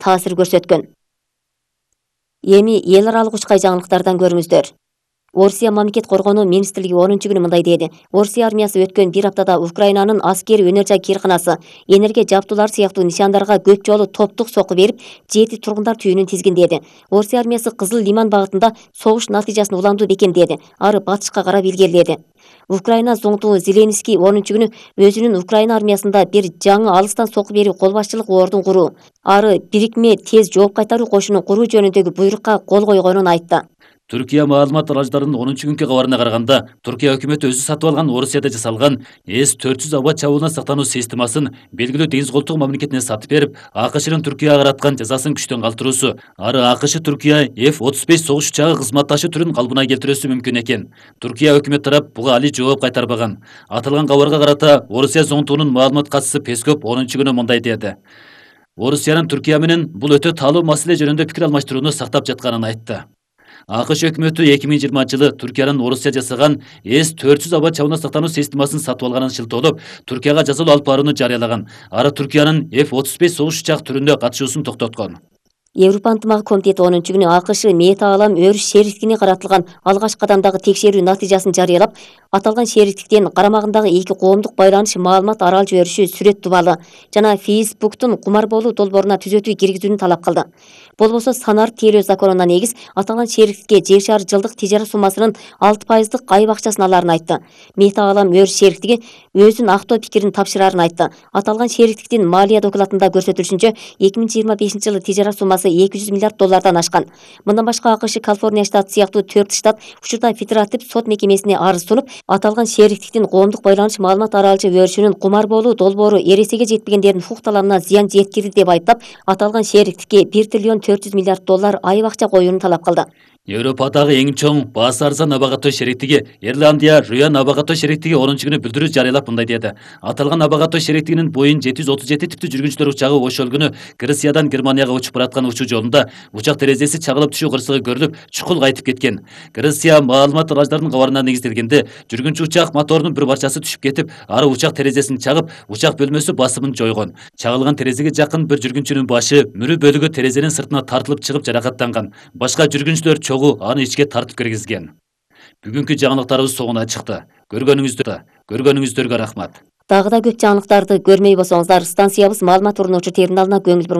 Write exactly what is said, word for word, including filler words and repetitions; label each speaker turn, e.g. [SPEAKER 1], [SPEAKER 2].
[SPEAKER 1] таасир көрсөткөн. Эми эл аралык учкай жаңылыктардан көрүңүздөр. Орусия мамлекет коргонуу министрлиги онунчу күнү мындай деди. Орусия армиясы өткөн бир аптада Украинанын аскери өнөр жай кыйрканасы, энергия жабдуулары сыяктуу нишандарга көп жолу топтук сокку берип, жети тургундар түйүнүн тизген деди. Орусия армиясы Кызыл Лиман багытында согуш натыйжасын уламдуу бекемдеди. Ары батышка карап илгериледи. Украина зоңтуу Зеленский онунчу күнү өзүнүн Украина армиясында бир жаңы алыстан сокку берүү кол башчылык ордун куруу, ары бирикме тез жооп кайтаруу кошунун куруу жөнүндөгү буйрукка кол койгонун айтты.
[SPEAKER 2] Түркия маалымат аждарынын онунчу күнкү кабарына караганда, Түркия өкмөтү өзү сатып алган Орусияда жасалган эс төрт жүз аба чабуулуна сактануу системасын белгилүү деңиз колтугу мамлекетине сатып берип, АКШнын Түркияга караткан жазасын күчтөн калтыруусу, ары АКШ Түркия эф отуз беш согуш учагы кызматташы түрүн калыбына келтирүүсү мүмкүн экен. Түркия өкмөт тарап буга али жооп кайтарбаган. Аталган кабарга карата Орусия зоңтуунун маалымат катчысы Пескоп онунчу күнү мындай деди. Орусиянын Түркия менен бул өтө таалуу маселе жөнүндө пикир алмаштырууну сактап жатканын айтты. АКШ өкмөтү эки миң жыйырманчы жылы Түркиянын Орусия жасаган эс төрт жүз аба чабуулуна сактануу системасын сатып алганын шылтоолоп, Түркияга жазалуу алып барууну жарыялаган. Ары Түркиянын эф отуз беш согуш учак түрүндө катышуусун токтоткон.
[SPEAKER 1] Европа ынтымагы комитети онунчу күнү АКШ Метаалам өрүш шериктигине каратылган алгач кадамдагы текшерүү натыйжасын жарыялап, аталган шериктиктен карамагындагы эки коомдук байланыш маалымат арал жибериши сүрөт дубалы жана Фейсбуктун кумар болуу долбооруна түзөтүү киргизүүнү талап кылды. Болбосо санар тейлөө законуна негиз аталган шериктикке жер шары жылдык тижарат суммасынын алты пайыздык айып акчасын алаарын айтты. Метаалам өрүш шериктиги өзүнүн актоо пикирин тапшырарын айтты. Аталган шериктиктин малия докладында көрсөтүлүшүнчө эки миң жыйырма бешинчи жылы тижарат суммасы эки жүз миллиард доллардан ашкан. Мындан башка АКШ Калифорния штаты сыяктуу төрт штат учурда федератив сот мекемесине арыз сунуп, аталган шериктиктин коомдук байланыш маалымат аралчы өрүшүнүн кумар болуу долбоору эресеге жетпегендердин укук талабына зыян жеткирди деп айыптап, аталган шериктикке бир триллион төрт жүз миллиард доллар айып акча коюуну талап кылды.
[SPEAKER 2] Европадагы эң чоң баасы арзан аба катоо шериктиги Ирландия Руян аба катоо шериктиги онунчу күнү билдирүү жарыялап мындай деди. Аталган аба катоо шериктигинин Боeing жети жүз отуз жети типтүү жүргүнчүлөр учагы ошол күнү Грециядан Германияга учуп бараткан учуу жолунда учак терезеси чагылып түшүү кырсыгы көрүлүп, чукул кайтып кеткен. Греция маалымат аждарынын кабарына негизделгенде, жүргүнчү учак моторунун бир барчасы түшүп кетип, ары учак терезесин чагып, учак бөлмөсү басымын жойгон. Чагылган терезеге жакын бир жүргүнчүнүн башы, мүрү бөлүгү терезенин сыртына тартылып чыгып жаракаттанган. Башка жүргүнчүлөр чогуу аны ичке тартып киргизген. Бүгүнкү жаңылыктарыбыз соңуна чыкты. Көргөнүңүздөргө, көргөнүңүздөргө рахмат.
[SPEAKER 1] Дагы да көп жаңылыктарды көрмөй болсоңуздар, станциябыз маалымат уруунуучу терминалына көңүл буруңуздар.